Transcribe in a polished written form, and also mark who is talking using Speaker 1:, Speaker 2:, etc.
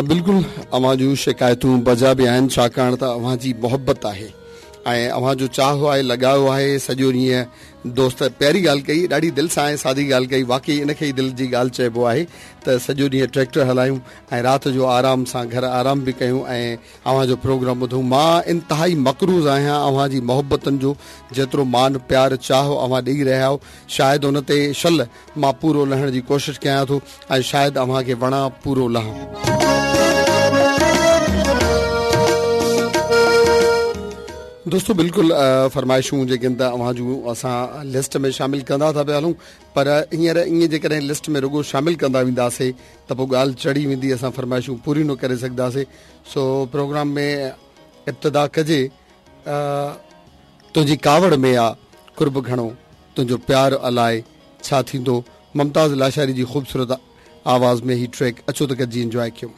Speaker 1: بلڪل اوهان جون شڪايتون بجا به آهن ڇاڪاڻ ته اوهان جي محبت آهي ۽ اوهان جو چاهه آهي لڳاء آهي سڄو ڏينهن دوست پياري ڳالهه ڪئي ڏاڍي دل سان ۽ سادي ڳالهه ڪئي واقعي ان کي ئي دل جي ڳالهه چئبو آهي ته سڄو ڏينهن ٽريڪٽر هلايون ۽ رات جو آرام سان گهر آرام به ڪيون ۽ اوهان جو پروگرام ٻڌون مان انتهائي مقروض آهيان اوهان جي محبتن جو جيترو مان پيار چاهه اوهان ڏئي رهيا آهيو شايد ان تي شل مان پورو لهڻ جي ڪوشش ڪيان ٿو ۽ شايد اوهان کي وڻان پورو لهان. دوستو بلڪل فرمائشون جيڪي ته اوهان جون اسان لسٽ ۾ شامل ڪندا ٿا پيا هلون پر هينئر ائين جيڪڏهن لسٽ ۾ رڳو شامل ڪندا وينداسي ته پوء ڳالهه چڙهي ويندي اسان فرمائشون پوريون نه ڪري سگهنداسي سو پروگرام ۾ ابتدا ڪجي تنهنجي ڪاوڙ ۾ آ قرب گهڻو تنهنجو پيار الائي ڇا ٿيندو ممتاز لاشاري جي خوبصورت آواز ۾ هي ٽريڪ اچو ته گڏجي انجواء ڪيون.